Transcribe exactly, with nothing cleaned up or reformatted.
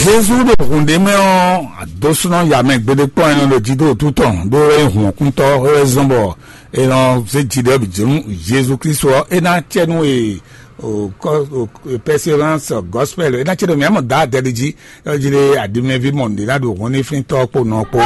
Jezu ɖo hǔn ɖé mɛ ɔ́, adósúnɔ ya mɛ gbeɖé kpɔ́n ɛnɛ ɖo jí dó wútu tɔn ɖó é nyí hǔn ɔ́kúntɔ́ é wɛ zɔ́n bɔ è nɔ zé jǐɖɛ́ bǐ jǐ nú Jezu Klísu ɔ́, é ná acɛ nú e o kɔ o persévérance gospel, é ná acɛ nú mǐ mɔ dǎ adɛ ɖi jí, é jí ɖé aɖimɛví mɔ nǔɖé ná ɖo hǔn ní flíntɔ́ kpó nɔ kpó.